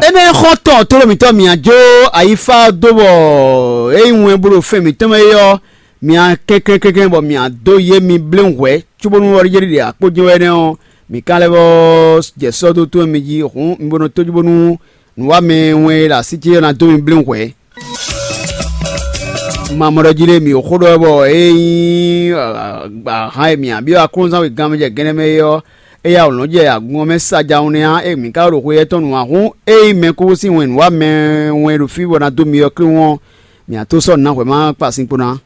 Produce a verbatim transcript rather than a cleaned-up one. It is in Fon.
Énɛ́ xɔ́ntɔn tlóló mǐtɔn mǐa jó ayífá dó bɔ é nyí wɛn bó ɖo fɛn mǐtɔn mɛ é ɔ́, mǐa kɛnklɛ́n kɛnklɛ́n bɔ mǐa dó yé mi bléwún hwɛ̌ cóbónú ɔ́ ɖiɖe akpó jɛ́n wɛ nɛ́ ɔ́, mǐ ka lɛ́ vɔ jɛ sɔ́ dó tó mi jí hǔn mi bo nɔ tójú bónú nǔwamɛ wɛn e ɖo así ce ɔ́ ná dó mi bléwún hwɛ̌. Mamɔɖɔ jí lé mǐ xó ɖɔ wɛ bɔ é nyí ahan e mǐ byɔ́ aklúnɔzán wegán mɛ jɛ gɛ́nɛ́ mɛ é ɔ́, é yá wǒ nɔ́ jɛ agun ɔ́ mɛ sa jawun nɛ́ ǎ, é mǐ ka ɖo xwe étɔn nu ǎ. Hǔn ényí mɛkúkú sín wɛn nǔwamɛ wɛn ɖo fí bɔ ná dó mi ɔ́ klín ɔ́, mǐ ná tó sɔ́ nǔ ná hwɛ̌ ma kpa sin kpo ná.